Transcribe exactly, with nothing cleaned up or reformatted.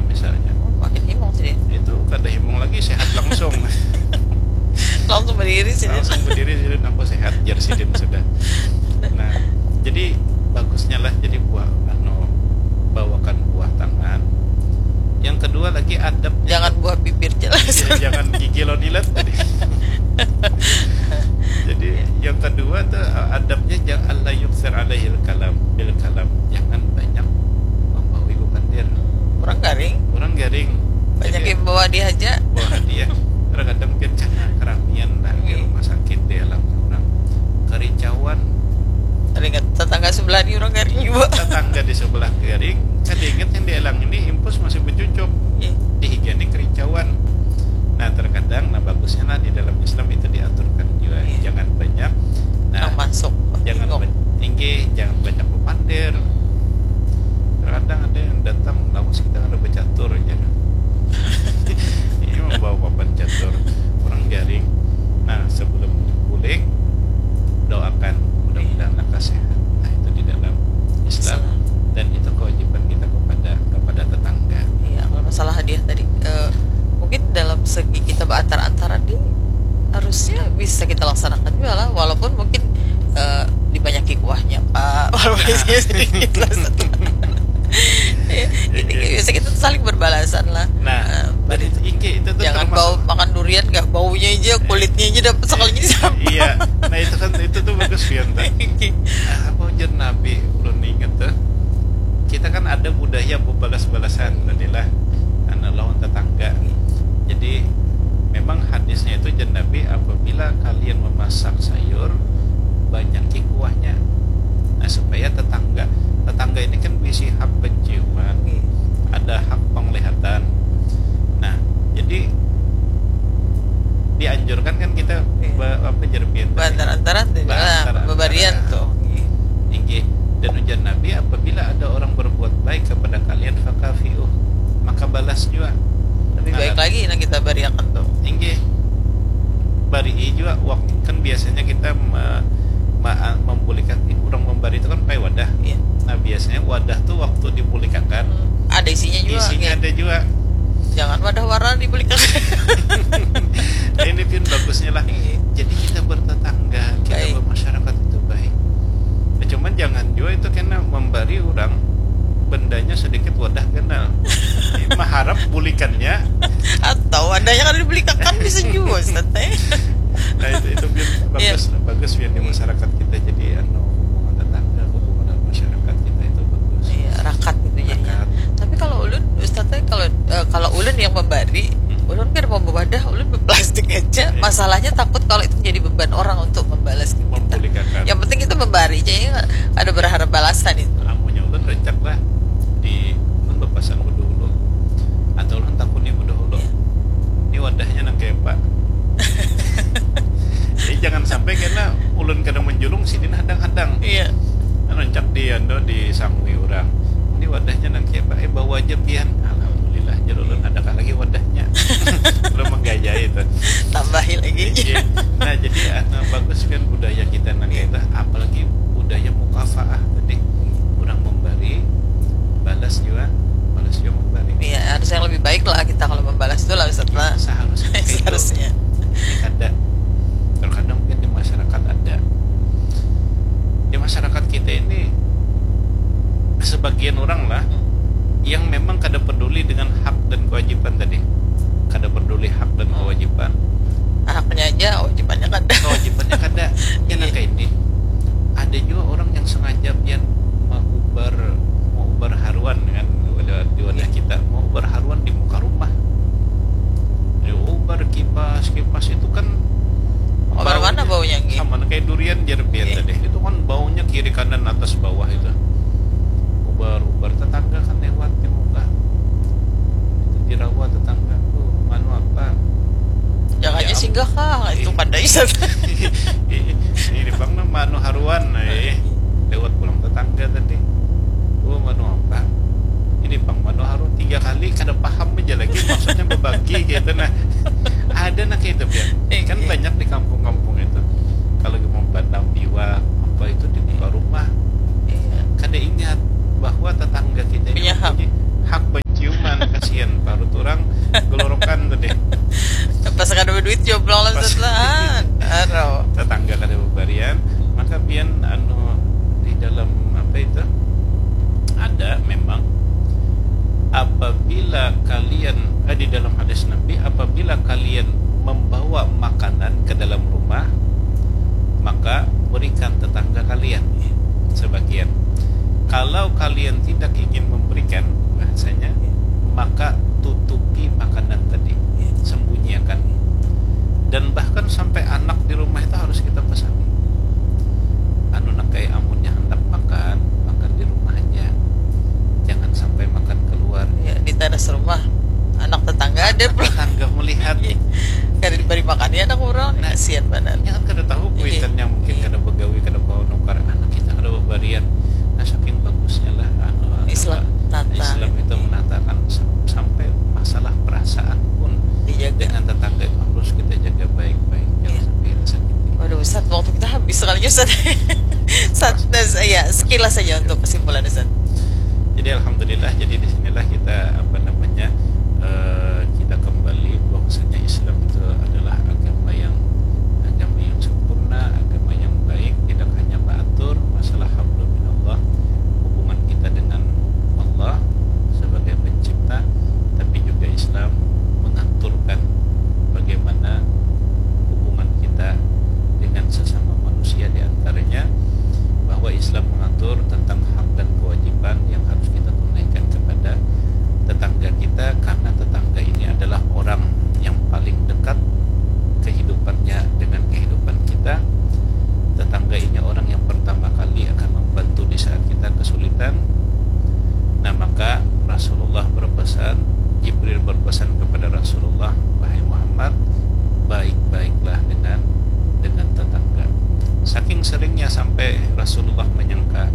misalnya. Oh, makin himung sih. Itu kada himung lagi, sehat langsung. Langsung berdiri sih. Langsung berdiri, sidin aku sehat, jar sidin sudah. Nah, jadi bagusnya lah jadi buah, anu, bawakan buah tangan. Yang kedua lagi adab. Jangan buah bibir jelas. Ya, jangan gigi lo dilet tadi. Jadi yang kedua tuh, adabnya jangan, la yukthir alaihil kalam, bil kalam. Jangan banyak membawi bepandir. Orang garing. Orang garing. Banyak yang bawa dia aja. Bawa hadiah. Terkadang pian karena keramian lah di rumah sakit, dialang orang. Kericauan. Teringat tetangga sebelah ni orang garing juga. Tetangga di sebelah garing. Kada ingat yang dialang ini impus masih becucuk. Iya. Di higa ni kericauan. Nah, terkadang, nah, bagusnya lah di dalam Islam itu diaturkan juga. Iya. Jangan banyak. Nah, masuk. Jangan banyak, inggih, jangan banyak bepandir. Terkadang ada yang datang, lawas kita kada becatur aja. Ini membawa papan catur, orang garing. Nah, sebelum bulik, doakan mudah-mudahan lekas sehat. Nah, itu di dalam Islam. Dan itu kewajiban kita kepada kepada tetangga. Iya, kalau masalah hadiah tadi, eh, mungkin dalam segi kita berantar-antaran di harusnya bisa kita laksanakan juga lah, walaupun mungkin eh, dibanyaki kuahnya, Pak. Walaupun isinya sedikit lah, satu. Ya, ini bisa kita saling berbalasan lah. Nah, Eh, tadi itu, inggih, itu tuh jangan termasuk bau makan durian, gak baunya aja kulitnya aja dapat sekalinya sama. Iya, nah, itu kan, itu tuh bagus, Fian, tah. Ah, apa ujar Nabi, ulun ingat tuh. Kita kan ada budaya bebalas-balasan tadi lah, anu, lawan tetangga. Jadi memang hadisnya itu, jar Nabi, apabila kalian memasak sayur, banyaki kuahnya. Nah, supaya tetangga, tetangga ini kan bisi hak penciuman, Iya. Ada hak penglihatan. Nah, jadi dianjurkan kan kita Iya. be- apa, jar pian tadi? Berantar-antaran tuh, Berantar-antaran. Bebarian tuh. Inggih. Dan ujar Nabi, apabila ada orang berbuat baik kepada kalian, fakafiuh, maka balas juga. Lebih Nah, baik lagi yang kita bariakan tuh. Inggih. Barii juga, wak- kan biasanya kita me- ma- membulikan, orang membari itu kan pakai wadah. Iya. Nah, biasanya wadah tuh waktu dibulikakan, Hmm, ada isinya juga. isinya Kayak, ada juga. Jangan wadah warna dibulikakan. Ini pun bagusnya lah. Iya. Jadi kita bertetangga, kita Baik. Bermasyarakat itu baik. Nah, cuman jangan juga itu kena membari orang bendanya sedikit wadah ganal. Maharap bulikannya. Atau wadahnya kan dibulikakan, bisa juga, Ustaz, teh. Nah, itu itu pun bagus, bagus pun di masyarakat kita. Jadi anu, hubungan tetangga, hubungan masyarakat kita itu bagus. Iya, rakat gitu jadinya. Rakat. Tapi kalau ulun, Ustaz teh, kalau eh, kalau ulun yang membari, ulun kan mau wadah, ulun berplastik aja. Iya. Masalahnya takut kalau itu jadi beban orang untuk membalas ke kita. Membulikan. Yang penting kita membari aja, ya, ada berharap balasan itu. Amunnya ulun rancak lah di ulun berpasan bedahulu atau ulun takuni bedahulu. Iya. Ini wadahnya nang kayak apa? Jadi jangan sampai karena ulun kadang menjulung, sidin hadang-hadang. Iya. Kan rancak di anu, disangui orang. Ini wadahnya nang kayak apa? Eh, bawa aja pian. Alhamdulillah, jar ulun, adakah lagi wadahnya? Ulun menggayai itu. Tambahi lagi. Iya. Nah, jadi anu, bagus kan budaya kita nang itu, apalagi budaya mukafaah tadi. Orang memberi, balas juga, balas juga memberi. Iya, harus yang lebih baik lah kita kalau membalas itu lah, Ustaz lah. Seharusnya kayak itu. Seharusnya. Ini kada, terkadang mungkin di masyarakat ada, di masyarakat kita ini sebagian orang lah yang memang kada peduli dengan hak dan kewajiban tadi, kada peduli hak dan kewajiban. Haknya aja, kewajibannya kada. Kewajibannya kada. Ya, nah, kayak ini, ada juga orang yang sengaja pian mau ubar, mau ubar haruan kan, di wadah kita, mau ubar haruan di muka rumah. Ya, ubar kipas, kipas itu kan Ubar mana baunya, Ngi? Sama kayak durian, jar pian tadi. Itu kan baunya kiri kanan atas bawah itu. Ubar, ubar, tetangga kan lewat di muka. Itu dirawa tetangga. Oh, manu apa? Jangan aja Ya, singgah kah? Itu kada bisa. Ini bang, nah, manu haruan, eh. Lewat pulang tetangga tadi. Oh, manu apa? Ini bang, manu haruan, tiga kali kada paham aja lagi maksudnya berbagi gitu. Nah, ada nak itu, Pian. Eh, Kan iya. Banyak di kampung-kampung itu. Kalau mau bandang biwa apa itu di muka rumah. Iya. Kada ingat bahwa tetangga kita ini Punya hak. Mempunyai hak penciuman ke si Duit joblong lah. Pas. Lah. Aduh. Tetangga kada bebarian, maka pian anu di dalam apa itu ada memang apabila kalian eh, di dalam hadis Nabi, apabila kalian membawa makanan ke dalam rumah, maka berikan tetangga kalian sebagian. Kalau kalian tidak ingin memberikan, bahasanya, maka tutupi makanan tadi, sembunyikan. Dan bahkan sampai anak di rumah itu harus kita pesangi. Anu nak kayak amunnya hendak makan, makan di rumah aja. Jangan sampai makan keluar. Ya, di teras rumah anak tetangga ada pulang. Tetangga melihat. Kada diberi makan ya anak orang. Nah, kasihan banget. Yang kan kada tahu kuitannya mungkin kada begawi, kada bawa nukar anak kita kada bebarian. Nah, saking bagusnya lah anu, Islam tata. Islam itu menatakan sampai masalah perasaan pun dijaga. Dengan tetangga itu harus kita jaga baik-baik, jangan sampai disakiti. Waduh Ustaz, waktu kita habis sekalinya Ustaz. Sat, ya, sekilas saja untuk kesimpulan Ustaz. Jadi alhamdulillah, jadi di sinilah kita apa namanya eh, kita kembali bahwasanya Islam itu adalah agama yang agama yang sempurna, agama yang baik, tidak hanya mengatur masalah hablum minallah, hubungan kita dengan Allah sebagai pencipta, tapi juga Islam mengaturkan bagaimana hubungan kita dengan sesama manusia, di antaranya bahwa Islam mengatur tentang hak dan kewajiban yang harus kita tunaikan kepada tetangga kita, karena tetangga ini adalah orang yang paling dekat kehidupannya dengan kehidupan kita. Tetangga ini orang yang pertama kali akan membantu di saat kita kesulitan. Nah, maka Rasulullah berpesan, Jibril berpesan kepada Rasulullah, "Wahai Muhammad, baik-baiklah dengan dengan tetangga." Saking seringnya sampai Rasulullah menyangka